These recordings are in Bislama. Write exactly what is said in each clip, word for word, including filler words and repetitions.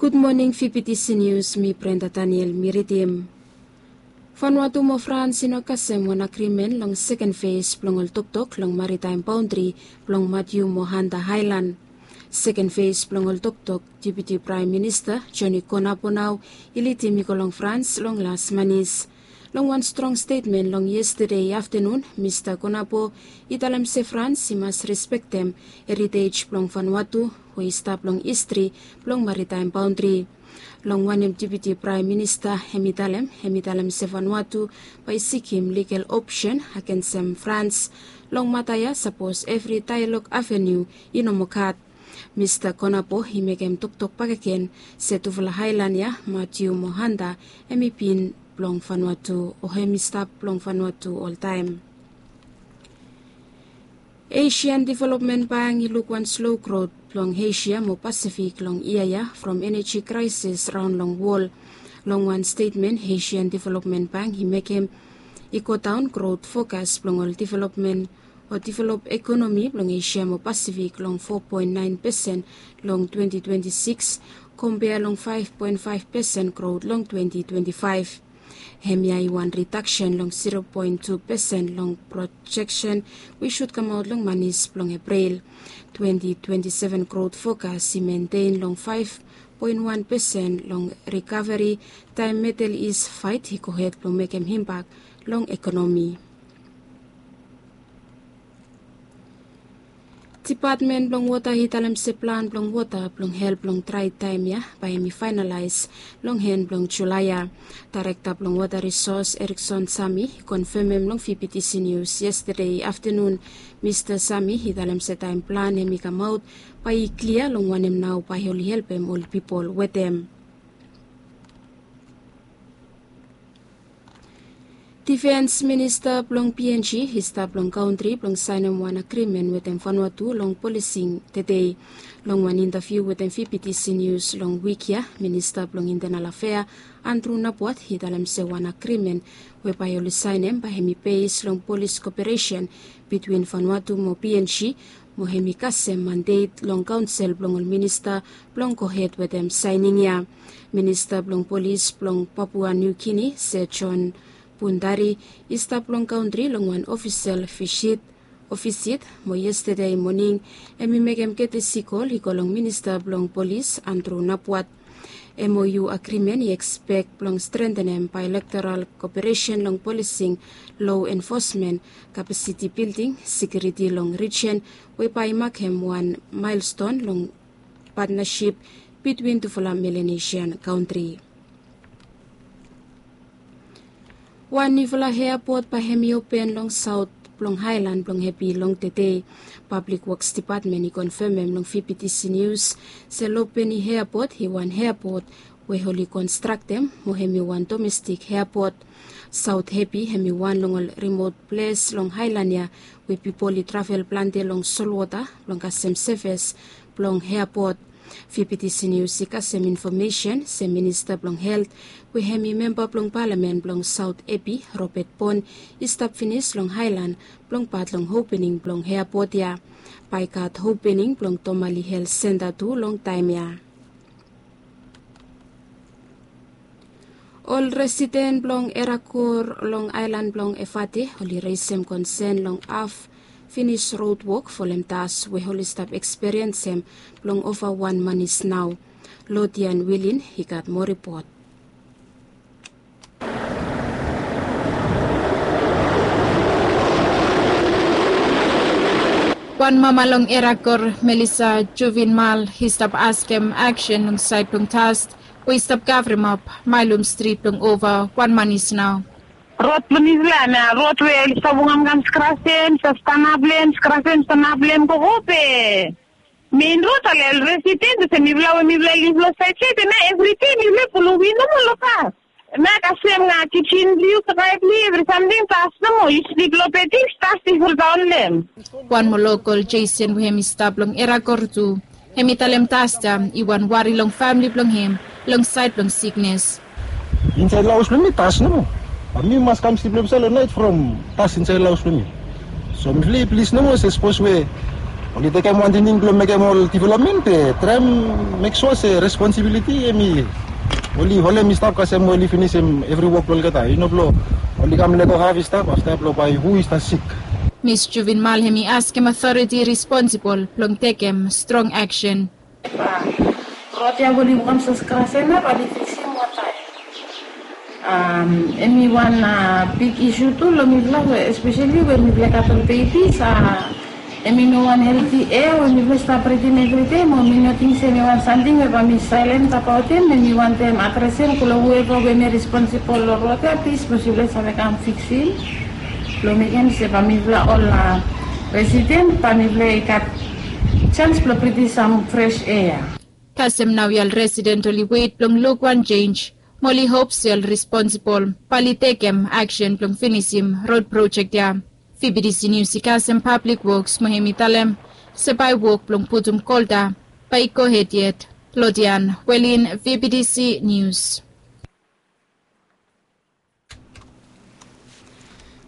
Gud moning, V P T C News, mi Brenda Daniel mi ridim. Vanuatu mo Frans i no kasem wan agrimen long seken fes blong ol toktok long maritaem baondri blong Matiu mo Hanta Aelan. Seken fes blong ol toktok Deputi Praem Minista Joni Konapo nao i lidim i go long Frans long las manis. Long wan strong stetmen long yestade aftanun, Mista Konapo i talem se Frans i mas respektem eritej blong Vanuatu we i stap long histri blong maritaem baondri. Long wanem Deputi Praem Minista hem i talem, hem i talem se Vanuatu bae i sikim ligal opsen agensem Frans. Long mata ya sapos evri daelog aveniu i no moa gat. Mista Konapo i mekem toktok bakegen se tufala aelan ya, Matiu mo Hanta, hem i bin blong Vanuatu o hem i stap blong Vanuatu oltaem. Asian Development Bank i luk wan slo grot blong Asia mo Pasifik long yia ya from eneji kraesis raon long wol. Long wan stetmen Asian Development Bank i mekem, i godaon grot fokas blong ol developmen o develop ekonomi blong Asia mo Pasifik long fo poen naen pesen long twenti twenti sikis, kompea long faef poen faef pesen grot long twenti twenti faef. Hemia i wan ridaksen long zero poen tu pesen long projeksen we i sud kamaot long manis blong Epril. Twenti twenti seven grot fokas i mentein long faef poen wan pesen long rikaveri taem Medel Is faet i gohed blong mekem impak long ekonomi. Depatmen blong Wota i talem se plan blong wota blong help long drae taem ya bae hem i faenalaes long en blong Julae ya. Daerekta blong Wota Risos Erikson Sami i konfemem long V P T C Nius yestade aftanun. Mista Sami i talem se taem plan hem i kamaot bae i klia long wanem nao bae oli helpem ol pipol wetem. Difens Minista blong P N G i stap long kantri blong saenem wan agrimen wetem Vanuatu long polising tedei. Long wan intaviu wetem V P T C Nius long wik ya, Minista blong Intenal Afea Andru Napuat i talem se wan agrimen we bae oli saenem bae hem i bes long polis koperesen bitwin Vanuatu mo P N G, mo hem i kasem mandet long kaonsel blong ol minista blong gohed wetem saening ya. Minista blong polis blong Papua Niu Gini, Sir John Pundari, i stap long kantri long wan ofisel visit, o visit, mo yestade moning hem i mekem ketesi kol i go long Minista blong Polis Andru Napuat. M O U agrimen i ekspek blong strentenem baelektoral koperesen long polising, lo enfosmen, kapasiti bilding, sekiuriti long rijen, we bae i makem wan maelston long patnasip bitwin tufala Melanesian kantri. Wan niufala eapot bae hem i open long saot blong aelan blong Hepi long tedei. Pablik Woks Depatmen i konfemem long V P T C Nius se Lopeni eapot i wan eapot we oli konstraktem mo hem i wan domestik eapot. Saot Hepi hem i wan long ol rimot ples long aelan ya we pipol i travel plante long solwota blong kasem sevis blong eapot. V P T C Nius i kasem infomesen se Minista blong Helt we hem i memba blong palamen blong Saot Hepi, Robert Pon, i stap finis long aelan blong pat long opening blong eapot ya. Bae i gat opening blong Tomali Helt Senta tu long taem ya. Ol residen blong Erakor long aelan blong Efate oli resem konsen long haf finis rod wok folem das we oli stap ekspiriensem blong ova wan manis nao. Lodian Wilin i gat moa ripot. Wan mama long Erakor, Melisa Juvinmal, i stap askem aksen long saed blong das we i stap kavremap Maelum Strit blong ova wan manis nao. Rod blong mifala na rod we oli stap wokamkam skrasen, stap stanap long hem, skrasen, stanap long hem, gogo be. Mein rod, ol residen olsem mifala we mifala liv long saed saed ya, evri dei mifala pulum win nomo long das. Hemia kasem nao kijen blong yu, krae blong yu, evri samting das nomo, yu slip long bed, das i foldaon long hem. Wan moa lokol, Jason, we hem i stap long Erakor tu, hem i talem das ya i wan wari long famili blong hem long saed blong siknes. Insaed long haos blong mi das nomo. Be mi mas kam slip long hem saed long naet from das insaed long haos blong mi. So mifala i plis nomo se sapos we Oli tekem wan tingting blong mekem ol developmen be traem mek sua se responsibiliti em i oli holem i stap kasem we oli finisim evri wok blong olgeta, i no blong oli kam leto haf i stap afta blong bae hu i stap sik. Mis Juvinmal hem i askem otoriti responsibol blong tekem strong aksen. Rot ya we oli wokam saskrasena bae oli fiksim wota ya. Em i wan big isu tu long mifala we espeseli we mifala i gat ol bebis. Em i no wan helti ea we mifala i stap britim evridei mo mi no ting se em i wan samting we bae mi saelen abaot em. Em i wantem adresem go long hueva we em i responsibol long rot ya, plis mos yufala i save kam fiksim blong mekem se bae mifala ol residen bae mifala i gat jans blong britim sam fres ea. Kasem naoia ol residen oli wet blong luk wan jenj mo oli hop se ol responsibol bae oli tekem aksen blong finisim rod projek ya. Vbtc Nius i kasem Pablik Woks mo hem i talem se bae wok blong putum kolta bae i gohed yet. Lodian Welin, Vbtc Nius.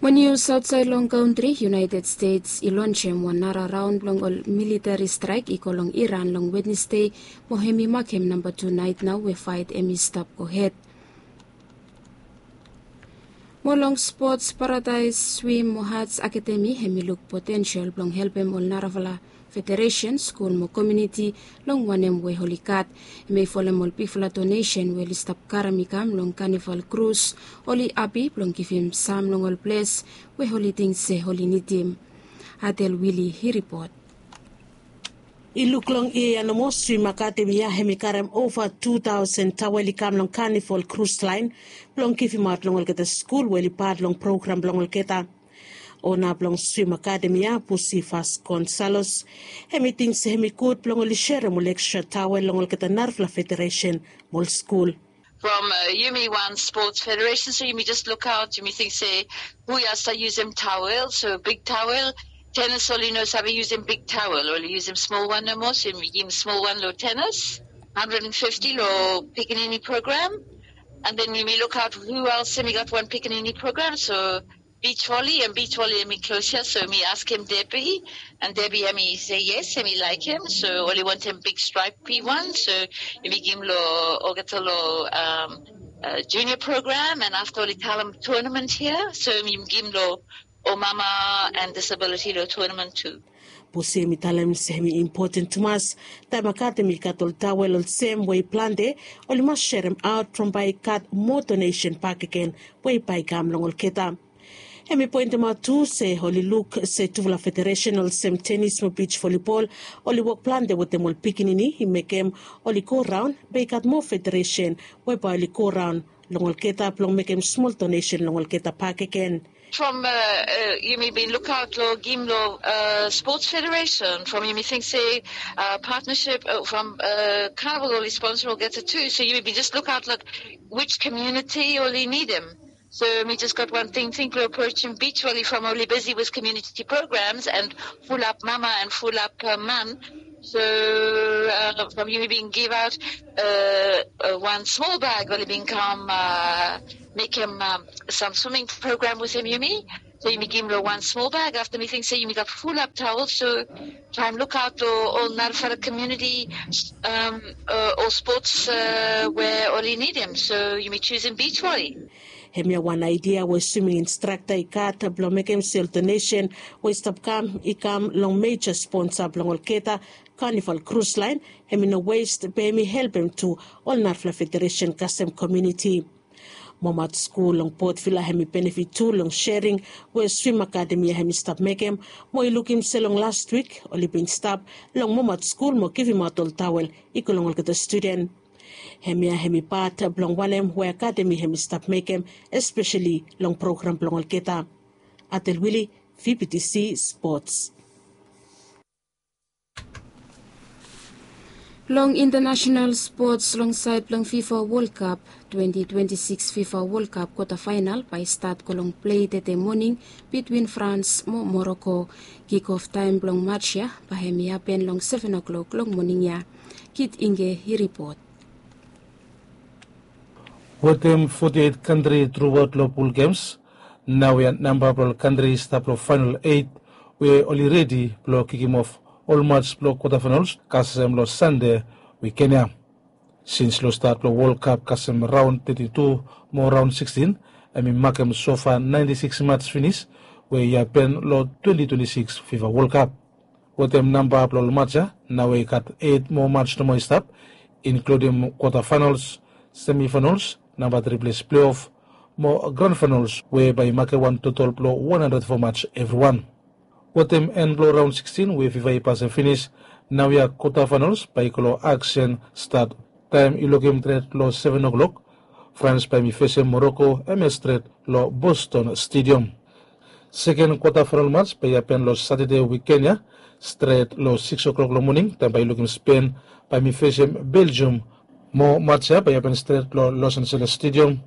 Mo nius aotsaed long kantri, United States i lonsem wan nara raon blong ol militeri straek i go long Iran long Wednesde, mo hem i makem namba tu naet nao we faet hem i stap gohed. Mo long spots, Paradaes Swim mo Hats Akademi hem i luk potensel blong helpem ol narafala federesen, skul mo komuniti long wanem we oli gat. Hem i folem ol bigfala donesen we oli stap karem i kam long Kanival Krus. Oli hapi blong givim sam long ol ples we oli ting se oli nidim. Adel Wili i ripot. I luk long yia ya nomo, Swim Akademi ya hem i karem ova tu taosen taol i kam long Kanival Krus Laen blong givimaot long olgeta skul we oli pat long program blong olgeta. Ona blong Swim Akademi ya, Pusi Vasconcelos, hem i ting se hem i gud blong oli serem ol ekstra taol long olgeta narafala federesen mo ol skul. From yumi wan spots federesen, so yumi jes lukaot, yumi ting se hu i save yusum taol, so big taol. Tenis oli no save yusum big taol, oli yusum smol wan nomo, so yumi givim smol wan long tenis, handred and fifti long pikinini program. And then yumi lukaot hu els hem i gat wan pikinini program, so beach volley, and beach volley hem i klos ya, so yumi askem Debbie, and Debbie hem i se yes, hem i laekem, so oli wantem big stripy wan, so yumi givim long olgeta long junior program, and afta oli talem tournament hia, so yumi givim long ol mama and disability long tournament tu. Pusi hem i talem se hem i impoten tumas, taem akademi i gat ol taol olsem we i plante, oli mas seremaot from bae i gat moa donesen bakegen we bae i kam long olgeta. Hem i poentemaot tu se oli luk se tufala federesen olsem tenis mo beach volleyball oli wok plante wetem ol pikinini i mekem oli go raon, be i gat moa federesen we bae oli go raon long olgeta blong mekem smol donesen long olgeta bakegen. From yumi bin lukaot long givim long spots federesen, from yumi ting se partnership from Kanival oli sponsa olgeta tu, so yumi bin jes lukaot long which community oli nidim. So mi jes gat wan tingting blong aprosim beach volley from oli bisi with community programs and fulap mama and fulap man. So from yumi bin givaot wan smol bag oli bin kam mekem sam swimming program wetem yumi. So yumi givim long wan smol bag afta mi ting se yumi gat fulap taol, so traem lukaot long ol narafala komuniti, ol spots we oli nidim, so yumi jusum beach volley. Hemia wan aedia we swiming instrakta i gat blong mekem se ol donesen we i stap kam i kam long meja sponsa blong olgeta, Kanival Krus Laen, hem i no wes, be hem i helpem tu ol narafala federesen kasem komuniti. Momat skul long Port Vila hem i benefit tu long sering we swim akademi ya hem i stap mekem, mo i lukim se long las wik oli bin stap long Momat skul mo givimaot ol tawel i go long olgeta studen. Hemia hem i pat blong wanem we akademi hem i stap mekem, espeseli long program blong olgeta. Atel Wili, V B T C Sports. Long international sports, long saed blong FIFA World Cup, twenty twenty-six FIFA World Cup kwata faenal bae i stat go long plei tede moning bitwin France mo Morocco. Kikof taem blong mats ya bae hem i hapen long seven o'clock long moning ya. Kit Inge i ripot. Wetem forty-eight kantri truaot long pul gems, naoia namba blong ol kantri i stap long faenal eit we oli redi blong kikimof Ol mats blong kwatafainals kasem long Sande wikend ya. Sins long stat blong Wol Kap kasem raon teti tu mo raon sikstin, hem i makem sofa naenti siks mats finis we i hapen long twenti twenti siks Fifa Wol Kap. Wetem namba blong ol mats ya, naoia i gat eit moa mats nomo i stap, inkludim kwatafainals, semifainals, namba tri ples pleof mo gran fainals we bae i makem wan totol blong wan handred fo mats evriwan. Wetem en blong raon sikstin we Fifa i pasem finis, naoia kwatafainals bae i go long aksen stat taem i lukim stret long seven o'clock. Frans bae hem i fesem Moroko, hemia stret long Boston Stadium. Seken kwatafainal mats bae i hapen long Satade wikend ya, stret long siks o'clock long moning taem bae i lukim Spen bae hem i fesem Belgium. Mo mats ya bae i hapen stret long Los Angeles Stadium.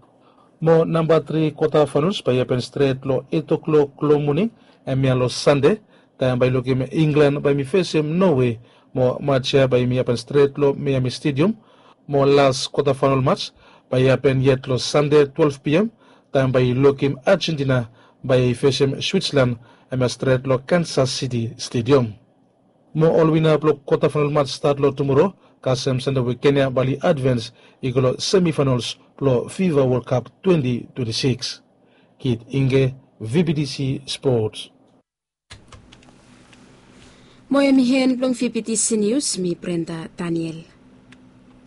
Mo namba tri kwatafainals bae i hapen stret long eit o'clock long moning, hemia long Sande, taem bae i lukim Inglan bae hem i fesem Nowe. Mo mats ya bae hem i hapen stret long Miami Stadium. Mo las kwatafainal mats bae i hapen yet long Sande twelef p m, taem bae i lukim Ajentina bae i fesem Switslan, hemia stret long Kansas City Stadium. Mo ol wina blong kwatafainal mats stat long tumoro kasem Sande wikend ya bae oli advens i go long semifainals blong Fifa Wol Kap twenti twenti siks. Kit Inge, V B T C Sports. Mo hem i en blong V B T C Nius, mi Brenda Daniel.